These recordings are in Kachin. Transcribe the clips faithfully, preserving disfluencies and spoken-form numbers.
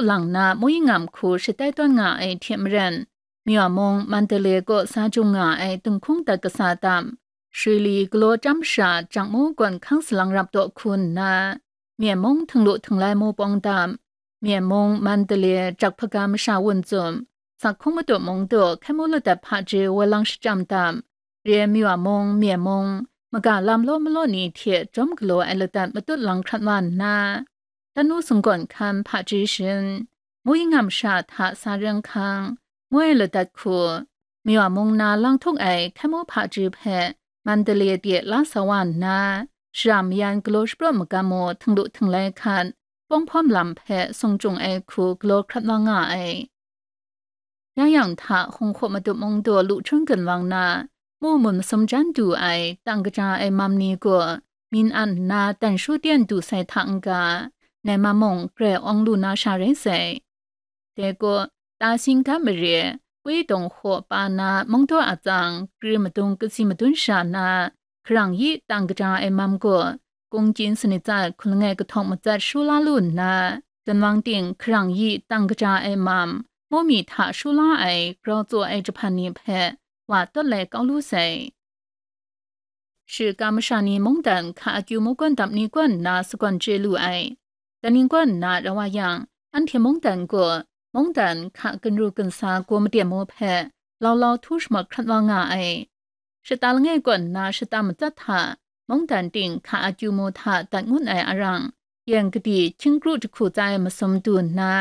lang na Muyingam hku shatai tawn nga ai hte maren, Myaw mung Mandalay kaw sa jung nga ai dinghkung dat kasa tam, Shri li galaw chyam sha Jakmu gawn hkang salang rap taw hku nna, Myen mung Htinglu Htinglai mu pawng tam, Myen mung Mandalay Jakphaga masha wun tsum, Sakhung Madu mung daw hkai mu ladat hpaji woi lang shachyam tam, Ryen Myaw mung, Myen mung, maga lam law malaw ni hte jawm galaw ai ladat matut lang hkrat wa nna, Tanu sunggawn hkan hpaji shin, Muyingam sha hta sa reng hkang, ngoi ladat hku, Myaw mung na lang htuk ai hkai mu hpaji hpe Mandalay de la sa wa nna, shara mayan galaw shapraw magam mu Htinglu Htinglai hkat, Pawng hpawm lam hpe sung chyung ai hku galaw hkrat wa nga ai. Ya yang hta Hung Hkaw Madu mung daw lu htung gun wang na, mu mun masum jan du ai tang kaja ai mam ni gaw, myin an nna dan shu tyen du sai hta n-ga, nai mam mung grai awng lu na sha rai sai. Dai gaw, ta singgan mare, kwi dawng hkaw pa na mungdaw atsang, kri madung kasi madun sha na, hkarang yi tang kaja ai mam gaw, kungchin sanit tsat hkun langai kahtawng matsat shu la lu nna, jan wang ting hkarang yi tang kaja ai mam, mu mi hta shu la ai grau tsaw ai jahpan ni hpe wa tawt lai kau lu sai. Shiga masha ni mungdan hka akyu mu gawn dap ni gawn nna sagawn chye lu ai. Dai ni gawn nna rau wa yang, anhte mungdan gaw, mungdan hka ginru ginsa gaw maden mu hpe, lau lau htu shamawt hkrat wa nga ai. Shata langai kawn nna shata matsat hta, mungdan ting hka akyu mu hta dat ngun ai arang, yen kadi hkying kru jahku tsa ai masum du nna,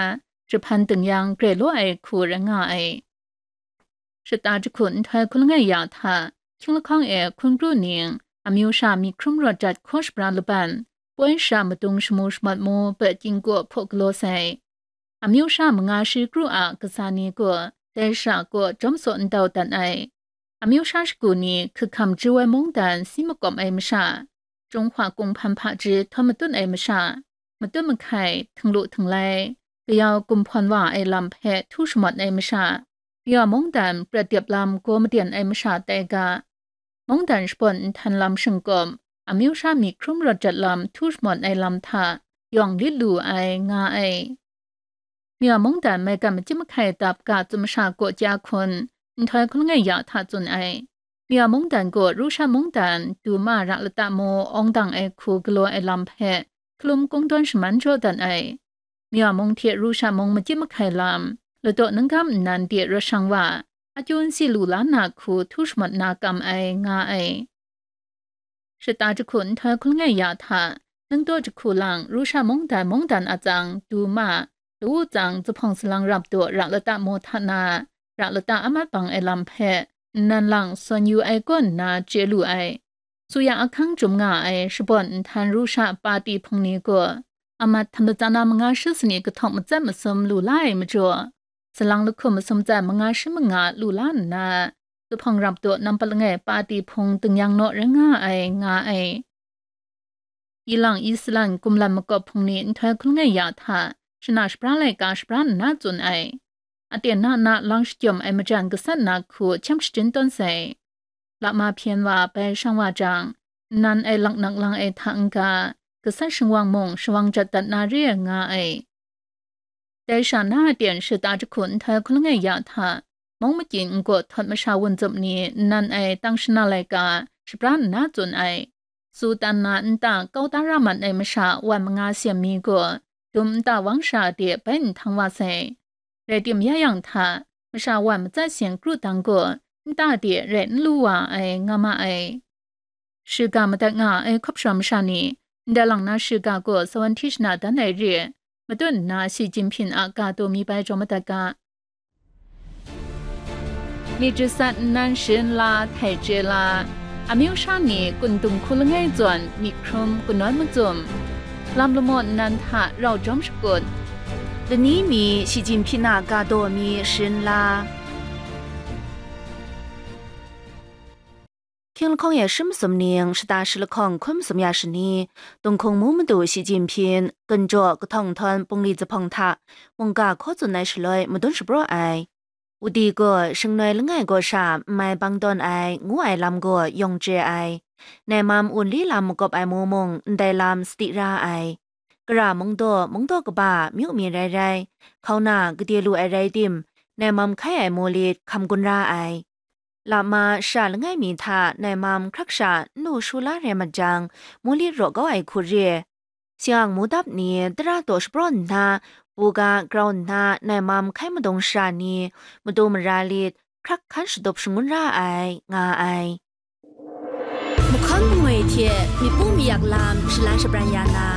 jahpan ding yang grai law ai hku rai nga ai. Shata jahku nhtoi hkun langai ya hta, hkying lahkawng e hkun kru ning, amyu sha myit hkrum rawt jat hkaw shabra laban, poi sha madung shamu shamat mu, pet chying kaw hpaw galaw sai. Amyu sha manga shi kru a kasa ni gaw, dai sha kaw jawm saw ndau dat ai. Amyu sha shagu ni hkahkam chyu ai mungdan si makawp ai masha, Jinghwa Kung hpan hpaji htawn matut ai masha, matut mahkai, htinglu htinglai, kayau gumhpawn wa ai lam hpe htu shamawt ai masha, Myaw mungdan prat dep lam gaw maden ai masha tai ga, mungdan shabawn nhtan lam shingkawm, amyu sha myit hkrum rawt jat lam htu shamawt ai lam hta yawng lit lu ai, nga ai. Myaw mungdan maigan machyip mahkai dap ga tsun masha gaw kya hkun, nhtoi hkun langai ya hta tsun ai. Myaw mungdan gaw Rusha mungdan duma ra lata mu awng dang ai hku galaw ai lam hpe hkalum kungdawn shaman jaw dat ai. Myaw mung hte Rusha mung machyip mahkai lam, ladaw ningkam nnan de rawt shang wa, akyu n si lu la na hku htu shamawt na kam ai, nga ai. Shata jahku nhtoi hkun langai ya hta, ningdaw jahku lang Rusha mungdan mungdan atsang duma, lawu tsang zuphpawng salang rap daw ra lata mu hta na, ra lata amat bang ai lam hpe, nnan lang sawn yu ai kaw nna chye lu ai. Suya ahkang jum nga ai shabawn nhtan Rusha pati hpung ni gaw, amat htam latsa na manga shi sanit kahtawng matsat masum lu la ai majaw, salang lahkum masum tsat manga shi manga lu la nna, zuphpawng rap daw nampat langai pati hpung ding yang naw rai nga ai, nga ai. Ilang Islan gumlan makawp hpung ni nhtoi hkun langai ya hta, shana shapra laika shapra nna tsun ai. Aten na na lang shakyawm ai majan gasat na hku hkyam shajin tawn sai. Lama hpyen wa bai shang wa jang, nnan ai laknak lang ai hta n-ga, gasat shingwang mung shawang jat dat na re ai, nga ai. Dai sha na aten shata jahku nhtoi hkun langai ya hta, mung makyin n-gaw htawt masha wun zup ni nnan ai tang shana laika shapra nna tsun ai. Su tan na nta kau da ra mat ai masha wan manga seng mi gaw, dum nta wang sha de bai nhtang wa sai. Rai tim ya yang hta, masha wan matsat seng kru dang gaw, nta de rai n lu wa ai, nga ma ai. Shiga madat nga ai hkawp shawng masha ni, ndai lang na shiga gaw sawan hti shana dan ai re, matut nna Shi Jinping a ga taw mi bai jaw madat ga. Myit jasat nnan sharin la, htai chye la, amyu sha ni kun dung hku langai zawn myit hkrum kanawn macum, lam lamaw nnan hta rau jawm shakut, lani mi Shi Jinping a ga taw mi sharin la. Hkying lahkawng e shi masum ning, shata shi lahkawng hkun masum ya shani, Dinghkung mu madu Shi Jinping, ginjaw kahtawng nhtawm bungli zuphpawng hta mungga hkaw tsun ai shaloi madun shapraw ai. Wudi gaw shingnoi langai gaw sha n mai bang tawn ai, ngu ai lam gaw yawng chye ai. Nai mam wunli lam makawp ai mu mung, ndai lam sadi ra ai. kara mungdaw, mungdaw kaba myu mi rai rai, hkauna gade lu ai rai tim, nai mam hkai ai mulit hkam gun ra ai. Lama sha langai mi hta nai mam hkrak sha n lu shu la rai mat jang, mulit raw kau ai hku re. Siang mudap ni tara taw shapraw nna, buga grau nna nai mam hkai madung shara ni, madu mara lit, hkrak hkan shatup shangun ra ai, nga ai. Mahkawn mangwi hte myit pu mayak lam shalan shabran ya na,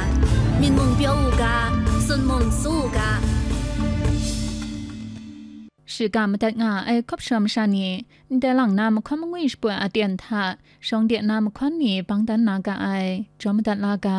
myit mung pyaw u ga, tsun mung tsu u ga. Shiga madat nga ai hkawp shawm sha ni, ndai lang na mahkawn mangwi shapoi aten hta, shawng de na mahkawn ni bang dan na ga ai, jaw madat la ga.